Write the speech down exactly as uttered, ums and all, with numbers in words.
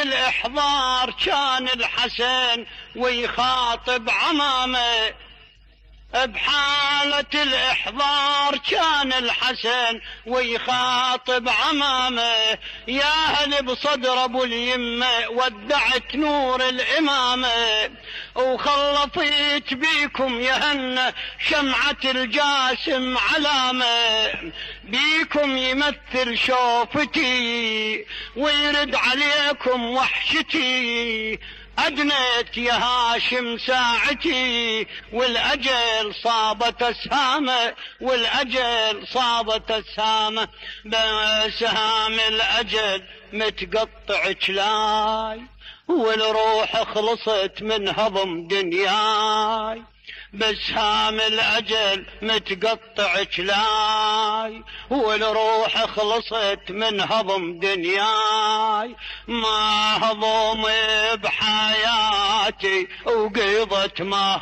الإحضار كان الحسن ويخاطب عمامه، بحالة الإحضار كان الحسن ويخاطب عمامه، يا هل بصدر أبو اليمة ودعت نور الإمامة، وخلطيت بيكم يهنى شمعة الجاسم علامة، بيكم يمثل شوفتي ويرد عليكم وحشتي، أدنيت يا هاشم ساعتي والأجل صابت أسهامه، والأجل صابت أسهامه، بسهام الأجل متقطع جلاي والروح خلصت من هضم دنياي، بسهام الأجل متقطع جلاي والروح خلصت من هضم دنياي، ما هضم بحياتي وقيضت ما